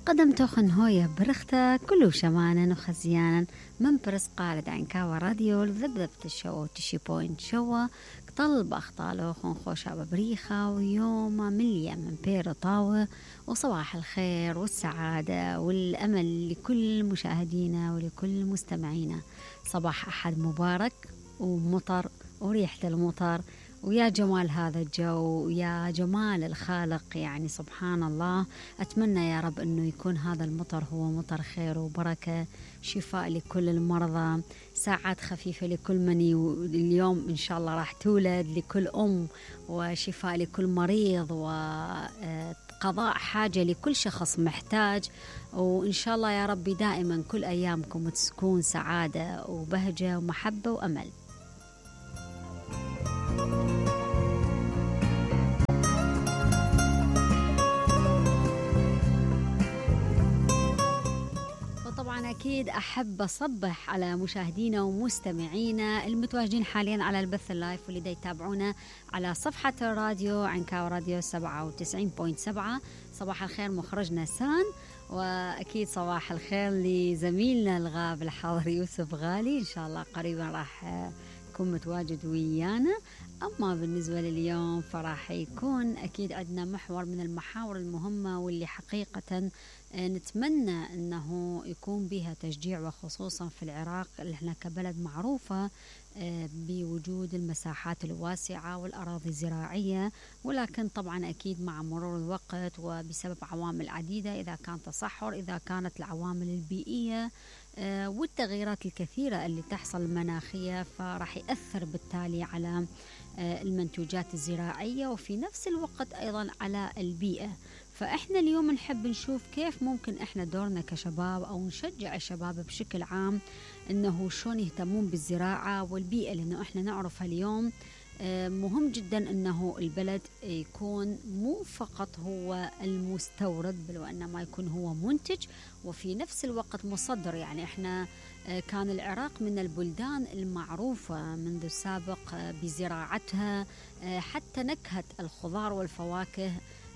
قدم توخن هوية برختة كلو شمانا وخزيانا من برس قارد عن كاوا راديو لذبذبة الشو تشي بوينت شوا طلب أخطالو خون خوشة ببريخة ويوم مليا من بير طاوة وصباح الخير والسعادة والأمل لكل مشاهدينا ولكل مستمعينا. صباح أحد مبارك ومطر وريحة المطر ويا جمال هذا الجو ويا جمال الخالق، يعني سبحان الله. أتمنى يا رب أنه يكون هذا المطر هو مطر خير وبركة، شفاء لكل المرضى، ساعات خفيفة لكل من اليوم إن شاء الله راح تولد، لكل أم، وشفاء لكل مريض، وقضاء حاجة لكل شخص محتاج. وإن شاء الله يا رب دائما كل أيامكم تكون سعادة وبهجة ومحبة وأمل. وطبعا أكيد أحب أصبح على مشاهدينا ومستمعينا المتواجدين حاليا على البث اللايف واللي يتابعونا على صفحة الراديو عنكاو راديو 97.7. صباح الخير مخرجنا سان، وأكيد صباح الخير لزميلنا الغاب الحاضر يوسف غالي، إن شاء الله قريبا راح يكون متواجد ويانا. أما بالنسبة لليوم فراح يكون أكيد عندنا محور من المحاور المهمة واللي حقيقة نتمنى أنه يكون بها تشجيع، وخصوصا في العراق اللي احنا كبلد معروفة بوجود المساحات الواسعة والأراضي الزراعية، ولكن طبعا أكيد مع مرور الوقت وبسبب عوامل عديدة، إذا كان تصحر، إذا كانت العوامل البيئية والتغييرات الكثيرة اللي تحصل المناخية، فراح يأثر بالتالي على المنتوجات الزراعية وفي نفس الوقت أيضا على البيئة. فإحنا اليوم نحب نشوف كيف ممكن إحنا دورنا كشباب أو نشجع الشباب بشكل عام إنه شلون يهتمون بالزراعة والبيئة، لأنه إحنا نعرفها اليوم مهم جدا أنه البلد يكون مو فقط هو المستورد، بل وإنما يكون هو منتج وفي نفس الوقت مصدر. يعني إحنا كان العراق من البلدان المعروفة منذ السابق بزراعتها، حتى نكهة الخضار والفواكه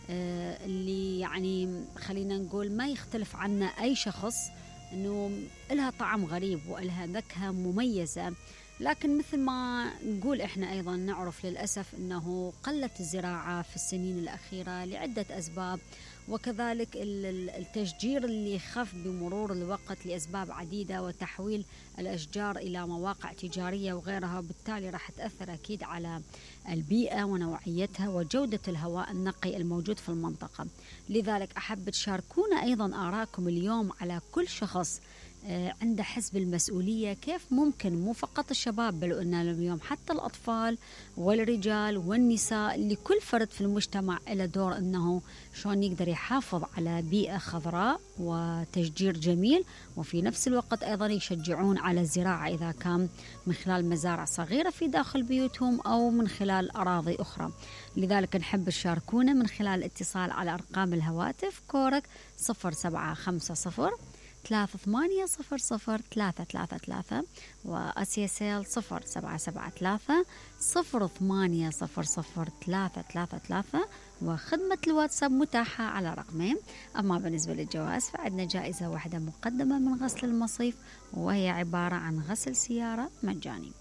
اللي يعني خلينا نقول ما يختلف عنا أي شخص، أنه إلها طعم غريب وإلها نكهة مميزة. لكن مثل ما نقول إحنا أيضا نعرف للأسف أنه قلت الزراعة في السنين الأخيرة لعدة أسباب، وكذلك التشجير اللي خف بمرور الوقت لأسباب عديدة، وتحويل الأشجار إلى مواقع تجارية وغيرها، وبالتالي راح تأثر أكيد على البيئة ونوعيتها وجودة الهواء النقي الموجود في المنطقة. لذلك أحب تشاركونا أيضا آراءكم اليوم على كل شخص عنده حس بالمسؤولية، كيف ممكن مو فقط الشباب بل أن اليوم حتى الأطفال والرجال والنساء، لكل فرد في المجتمع له دور أنه شلون يقدر يحافظ على بيئة خضراء وتشجير جميل، وفي نفس الوقت أيضا يشجعون على الزراعة إذا كان من خلال مزارع صغيرة في داخل بيوتهم أو من خلال أراضي أخرى. لذلك نحب تشاركونا من خلال الاتصال على أرقام الهواتف كورك 0750 3800 وأسيسيل 0773 0800 وخدمة الواتساب متاحة على رقمين. أما بالنسبة للجوائز فعندنا جائزة واحدة مقدمة من غسل المصيف، وهي عبارة عن غسل سيارة مجاني.